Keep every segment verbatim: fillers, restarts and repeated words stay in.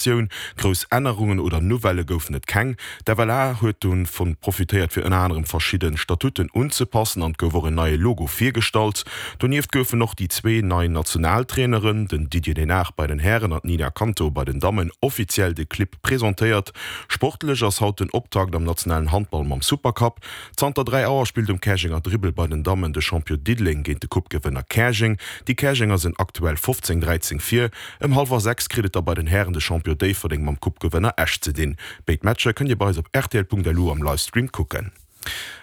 Tioun. Grouss Ännerungen oder Nouvellë goufen et keng. D'FLA huet dovun profitéiert fir ënner anerem verschidde Statuten unzepassen an et gouf och en neie Logo virgestallt. Donieft goufen och déi zwee nei Nationaltraineren, den Didier Denard bei den Hären an d'Nina Canto bei den Dammen, offiziell de Clibb presentéiert. Sportlech ass haut den Optakt am nationalen Handball mam Supercup. Zanter dräi Auer spillt um Käerjenger Dribbel bei den Dammen de Champion Diddeleng géint de Coupe-Gewënner Käerjeng. Déi Käerjenger sinn aktuell fofzéng, dräizéng vir. Ëm hallwer sechs kritt et da bei den Hären de Champion Déifferdeng mam Coupe-Gewënner Esch ze dinn. Béid Matcher kënnt Dir bei eis op rtl.lu am Livestream kucken.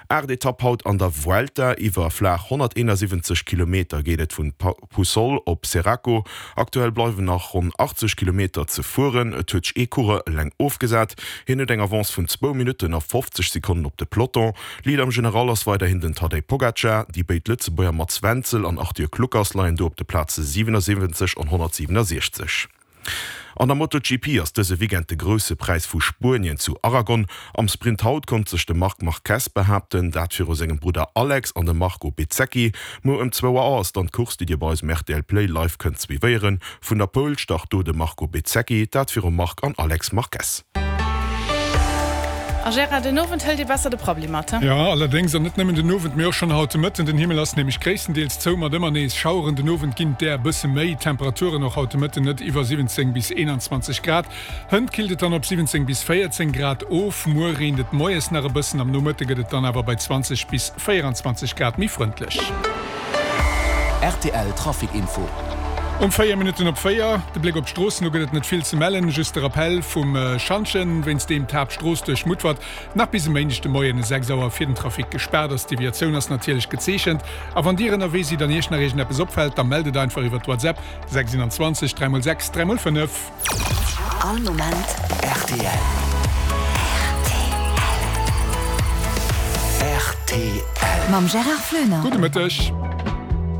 Aacht Etapp haut an der Vuelta. Iwwer flaach honnerteenasiwwenzeg Kilometer geet et vun Puçol op Seraco. Aktuell bleiwen nach ronn achtzeg Kilometer ze fueren. Et huet sech ee Coureur eleng ofgesat. Hien huet eng Avance vun zwou Minutten a fofzeg Sekonnen op de Peloton. Leader am General ass weiderhin den Tadej Pogacar. Déi béid Lëtzebuerger Mats Wenzel an Arthur Kluckers leien do op de Plaze siwenasiwwenzeg an honnertsiwenasiechzeg. An der MotoGP ass dëse Weekend de Grousse Präis vu Spuenien zu Aragon. Am Sprint haut konnt sech de Marc Marquez behaapten, dat viru sengem Brudder Alex an dem Marco Bezzecchi. Muer ëm zwou Auer ass dann d'Course, déi Dir bei eis um rtl Play live kënnt suivéieren. Vun der Pole start do de Marco Bezzecchi, dat virum Marc an Alex Marquez. A Gérard, den Owend hëlt ee besser de Prabbeli mat, he? Jo, allerdéngs, an net nëmmen den Owend, mee och schonn haut de Mëtten. Den Himmel ass nämlech gréisstendeels zou, mat ëmmer nees Schaueren. Den Owend ginn et där e bësse méi. D'Temperaturen och haut de Mëtten net iwwer siwwenzéng bis eenanzwanzeg Grad. Hënt killt et dann op siwwenzéng bis véierzéng Grad of. Muer reent et moies nach e bëssen, am Nomëtte gëtt et dann awer bei zwanzeg bis véieranzwanzeg Grad méi frëndlech. Rtl Trafic Info. Um véier Minutten op véier, de Bléck op d'Stroossen, do gëtt et net vill ze mellen, just de Rappell vum Schantjen, wéinst deem d'Haaptstrooss duerch Mutfert nach bis e Méindeg de Moien sechs Auer fir den Trafic gespaart ass. D'Deviatioun ass natierlech gezeechent. A wann Dir ënnerwee sidd an Iech nach iergendeppes opfält, da mellt et einfach iwwer d'WhatsApp sechs einundzwanzeg dräi mol sechs dräi mol fënnef. All Moment rtl. Rtl. Mam Gérard Floener. Gudde Mëtteg.